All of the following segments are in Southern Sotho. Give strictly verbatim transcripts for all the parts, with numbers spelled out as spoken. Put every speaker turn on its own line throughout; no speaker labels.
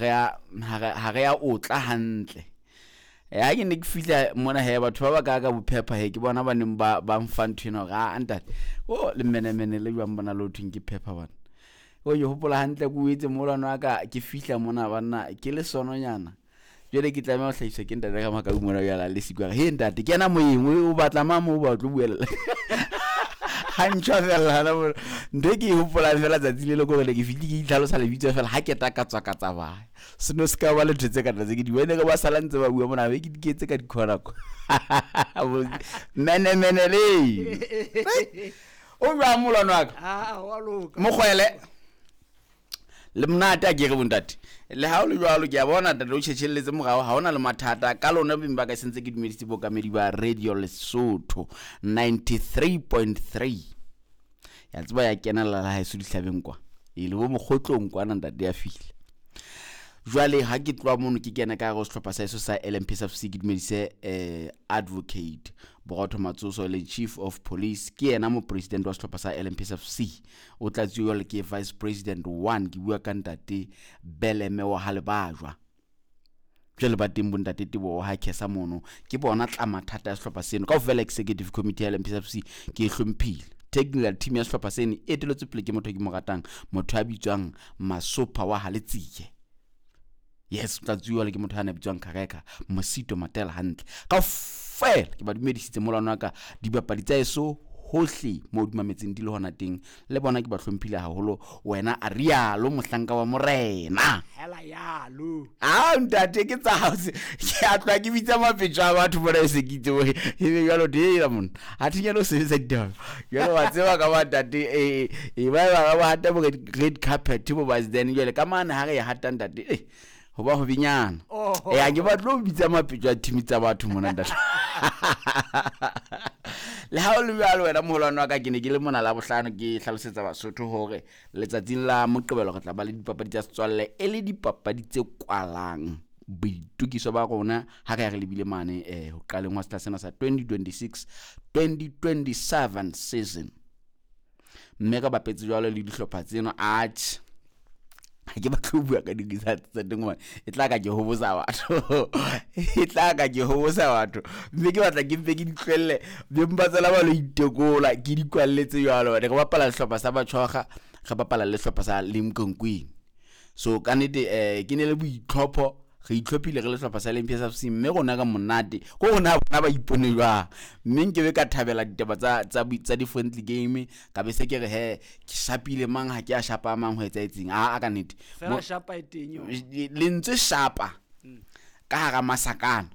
re a ha re a otla hantle. Ha ke ne ke fihla mona he batho ba ba ka ka bophepha he ke bona ba neng ba ba mfa ntho ena hore a ntate o le menemene le jwang bona le ho thweng ke phepha bana. O ke hopola hantle ke o etse molwana wa ka ke fihla mona banna ke le sononyana. Jwale ke tlameha ho hlahiswa ke ntate ka makau mona jwale le siko re he ntate kena moyeng o batla mang mo ba tlo buella. Ha ntjha fela hana mona. Ntho e ke e hopolang fela tsatsi le le ko re ke fihle ke itlhalosa lebitso fela ha ke ta ka tswa ka tsamaya. Seno se ka ba le ntho tse ka tse ke di bone ba sala ntse ba bua mona be ke diketse ka dikhona ko. Mene mene le. O jwang molwana wa ka?
Ah, wa loka.
Mokgwele. Le monate a ke re bontate. Le ha o le jwalo ke a bona ntate o tjhetjhelletse morao ha hona le mathata ka lona beng ba ka sentse ke dumedisitse bokamedi ba Radio Lesotho ninety-three point three. Ya tseba ya kenella la haeso dihlabeng kwa. E le bo mokgotlong kwana ntate ya fihla. Jwale ha ke tloha mono ke kena ka hare ho sehlopha sa heso sa L M P S F C ke dumedise eh Advocate Borotho Matsoso le Chief of Police ke yena mo president wa sehlopha sa L M P S F C o tla tsuwa le ke Vice President one ke bua ka ntate Beleme wa Halebajwa. Jwale ba teng bo ntate Teboho ha Khesa mono ke bona tla mathata ya sehlopha seno kaofela executive committee ya L M P S F C ke e hlomphile. Technical team ya sehlopha seno e eteletswe pele ke motho ke mo ratang motho a bitswang Masopha wa Haletsiye. Yes, tla tsuwa le ke motho a na bitswang Kareka Mosito Matela hantle. Kaofela ke ba dumedisitse molwana wa ka dibapadi tsa eso hohle mo di mametseng di le hona teng le bona ke ba hlomphile haholo wena a rialo mohlanka wa morena.
Hela yalo.
Ah ntate ke tsa hao ke a tloha ke bitsa mapetjo a batho bona e se ke itse hore e be jwalo dela monna. Ha thinyana o sebetsa ditaba. Jwale wa tseba ka ba ntate e e ba ba ba hata bo red carpet bo ba then jwale ka mane ha re e hata ntate eh ho ba ho binyana. Eh a ke batlo bitsa mapetjo a team tsa batho mona ntate. Le ha o le jwalo wena moholwane wa ka ke ne ke le mona la bohlano ke hlalosetsa Basotho hore letsatsing la Moqebelo re tla ba le dipapadi tsa setswalle e le dipapadi tse kwalang boitokiso ba rona ha re ya re lebile mane eh ho qaleng wa sehla sena sa twenty twenty-six twenty twenty-seven season. Mme re bapetse jwalo le dihlopha tseno atjhe ha ke batle ho bua ka di-results tsa teng hobane e tla ka ke hobosa batho. E tla ka ke hobosa batho. Mme ke batla ke mpe ke di tlohelle beng ba tsela ba lo itekola ke di kwalletse jwalo. Re bapala sehlopha sa Batshwaga, re bapala le sehlopha sa Limkokwing. So ka nnete eh ke ne le boitlhopho re itlhophile re le sehlopha sa L M P S F C mme rona ka monate ko rona bona ba ipone jwang mme nke be ka thabela ditaba tsa tsa tsa di-friendly game ka be se ke re he ke shapile mang ha ke a shapa mang ho etsahetseng a a ka nnete
fela shapa e teng yo
lentswe shapa ka hara masakana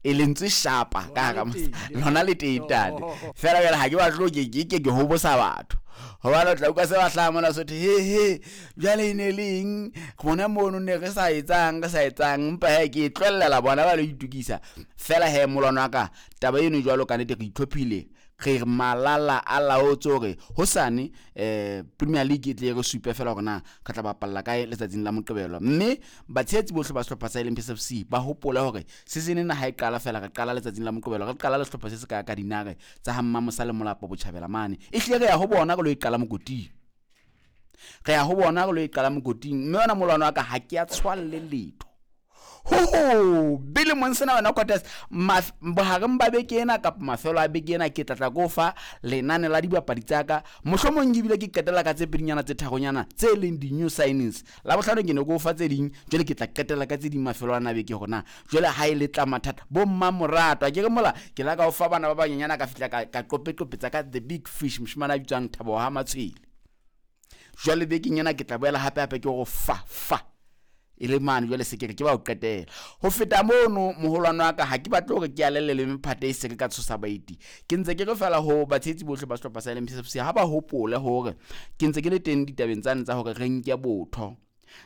e lentswe shapa ka hara lona le teng tate fela jwale ha ke batle ke ke ke ke hobosa batho hobane o tla utlwa se ba hlaha mona sotho he he jwale e ne le eng rona mono ne re sa etsang re sa etsang empa he ke e tlohella bona ba lo itokisa fela he molwana wa ka taba eno jwalo ka nnete re itlhophile re malala a laotse hore hosane eh Premier League e tle re supe fela hore na re tla bapalla kae letsatsing la Moqebelo mme batshehetsi bohle ba sehlopha sa L M P S F C ba hopole hore season ena ha e qala fela re qala letsatsing la Moqebelo re qala le sehlopha se se ka ka dinare tsa ha Mmamosa le Molapo Botjhabela mane e hlile re ya ho bona re lo e qala mokoting re ya ho bona re lo e qala mokoting mme yona molwana wa ka ha ke a tshwalle letho ho ho bile monsena wena Cortez bohareng ba beke ena kapa mafelo a beke ena ke tlatla ko fa lenane la dibapadi tsa ka mohlomong ke bile ke qetela ka tse pedinyana tse tharonyana tse leng di-new signings la bohlano ke ne ko fa tse ding jwale ke tla qetela ka tse ding mafelo ana beke hore na jwale ha e le tla mathata bo mmamoratwa ke re mola ke la ka o fa bana ba banyenyana ka fihla ka ka qopeqopetsa ka the big fish moshemane a bitswang Thabo ha Matshwele jwale bekeng ena ke tla boela hape hape ke go fa fa e le mane jwale se ke re ke ba o qetela ho feta mono moholwane wa ka ha ke batle hore ke alelle le mephate e se ke ka tshosa baeti ke ntse ke re fela ho batshehetsi bohle ba sehlopha sa L M P S F C ha ba hopole hore ke ntse ke le teng ditabeng tsane tsa hore re nke botho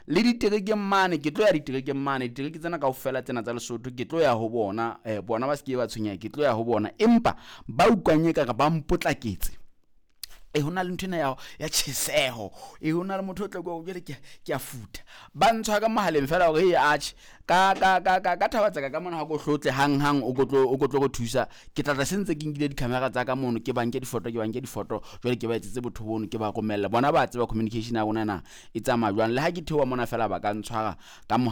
le diterekeng mane ke tlo ya diterekeng mane ditereke tsena kaofela tsena tsa Lesotho ke tlo ya ho bona eh bona ba se ke ba tshwenyeha ke tlo ya ho bona empa ba utlwang ekare ba mpotlaketse e hona le ntho ena ya ya tjheseho e hona le motho o tla go jwale ke ke a futa ba ntshwa ka mohaleng fela hore e atjhe ka ka ka ka ka thaba tsaka ka mona ha go hlotle hang hang o kotlo o kotlo go thusa ke tla tla sentse ke nkile di-camera tsa ka mono ke banke difoto ke banke difoto jwale ke ba etsetse botho bono ke ba romella bona ba tseba communication ya rona na e tsamaya jwang le ha ke theoha mona fela ba ka ntshwara ka mohala.